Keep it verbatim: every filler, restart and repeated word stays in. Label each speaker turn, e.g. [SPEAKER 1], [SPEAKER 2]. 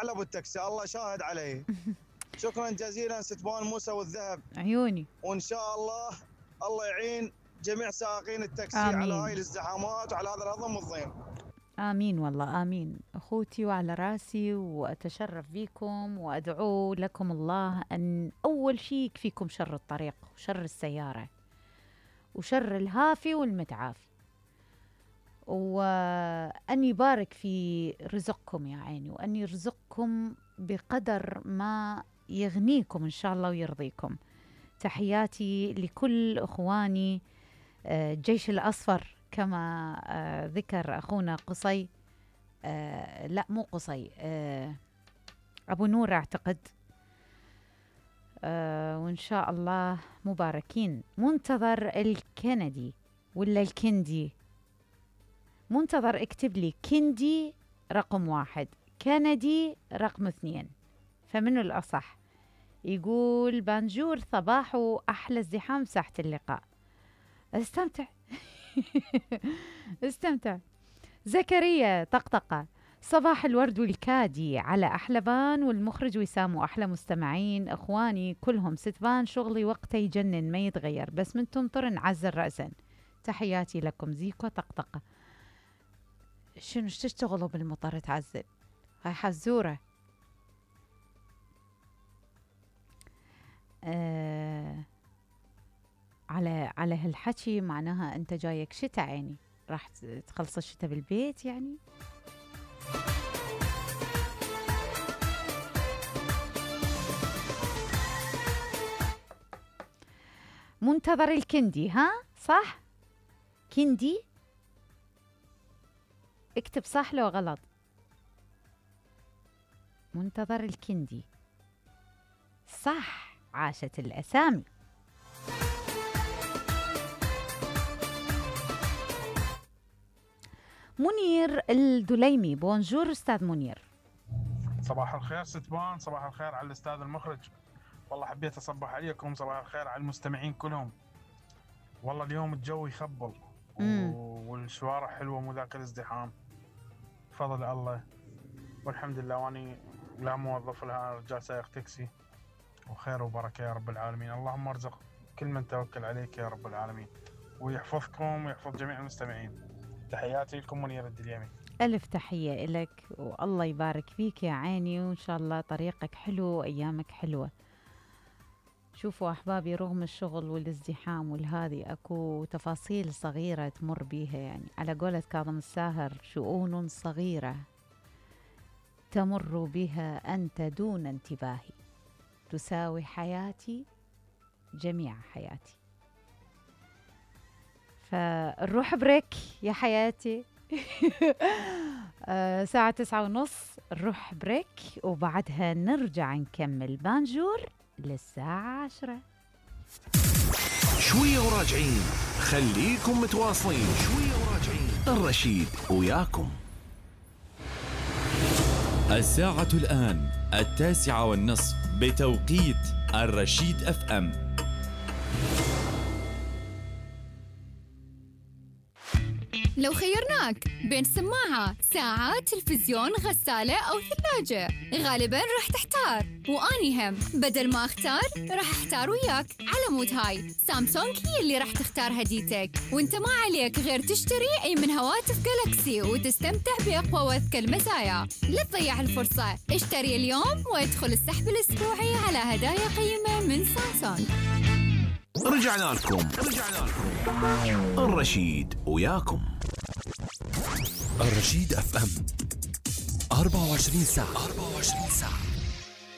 [SPEAKER 1] احلى ابو التاكسي، الله شاهد عليه. شكرا جزيلا ستبان موسى والذهب
[SPEAKER 2] عيوني.
[SPEAKER 1] وان شاء الله الله يعين جميع سائقين التاكسي
[SPEAKER 2] آمين.
[SPEAKER 1] على هاي الازدحامات وعلى هذا الهضم والضيم.
[SPEAKER 2] آمين والله آمين أخوتي وعلى راسي، وأتشرف بكم وأدعو لكم الله أن أول شيء يكفيكم شر الطريق وشر السيارة وشر الهافي والمتعافي، وأن يبارك في رزقكم يا عيني، وأن يرزقكم بقدر ما يغنيكم إن شاء الله ويرضيكم. تحياتي لكل أخواني الجيش الأصفر كما آه ذكر أخونا قصي، آه لا مو قصي، آه أبو نور أعتقد، آه وإن شاء الله مباركين. منتظر الكندي ولا الكندي؟ منتظر اكتب لي كندي رقم واحد، كندي رقم اثنين، فمنه الأصح؟ يقول بانجور صباح وأحلى ازدحام ساحة اللقاء. استمتع استمتع. زكريا طقطقة، صباح الورد والكادي على أحلبان والمخرج وسام وأحلى مستمعين أخواني كلهم. ستبان شغلي وقته يجنن ما يتغير، بس من تمطر نعزل رأسا. تحياتي لكم زيكو طقطقة. شنو تشتغلوا بالمطر تعزل؟ هاي حزورة. آه على على هالحكي معناها انت جايك شتاء، عيني راح تخلص الشتاء بالبيت يعني. منتظر الكندي، ها صح؟ كندي اكتب صح لو غلط. منتظر الكندي صح، عاشت الأسامي. منير الدليمي، بونجور أستاذ منير.
[SPEAKER 3] صباح الخير ستبان، صباح الخير على الأستاذ المخرج. والله حبيت أصبح عليكم، صباح الخير على المستمعين كلهم. والله اليوم الجو يخبل والشوارع حلوة مو ذاك الازدحام، فضل الله والحمد لله. واني لا موظف لها رجال سائق تاكسي، وخير وبركة يا رب العالمين. اللهم ارزق كل من توكل عليك يا رب العالمين، ويحفظكم ويحفظ جميع المستمعين. تحياتي لكم منير الدليمي.
[SPEAKER 2] ألف تحية لك والله يبارك فيك يا عيني، وإن شاء الله طريقك حلو وأيامك حلوة. شوفوا أحبابي، رغم الشغل والازدحام والهذي أكو تفاصيل صغيرة تمر بيها، يعني على قولة كاظم الساهر شؤون صغيرة تمر بها أنت دون انتباهي، تساوي حياتي جميع حياتي. فنروح بريك يا حياتي. آه ساعة تسعة ونص نروح بريك، وبعدها نرجع نكمل بانجور للساعة عشرة.
[SPEAKER 4] شوية وراجعين، خليكم متواصلين. شوية وراجعين، الرشيد وياكم.
[SPEAKER 5] الساعة الآن التاسعة والنصف بتوقيت الرشيد اف ام.
[SPEAKER 6] لو خيرناك بين سماعة، ساعة، تلفزيون، غسالة أو ثلاجة، غالباً راح تحتار، وأني هم بدل ما أختار راح أختار وياك. على مود هاي سامسونج هي اللي راح تختار هديتك، وانت ما عليك غير تشتري أي من هواتف جالاكسي وتستمتع بأقوى وأذكى المزايا. لا تضيع الفرصة، اشتري اليوم وادخل السحب الأسبوعي على هدايا قيمة من سامسونج.
[SPEAKER 4] رجعنا لكم رجعنا لكم الرشيد وياكم. الرشيد اف ام أربعة وعشرين ساعة أربعة وعشرين ساعة.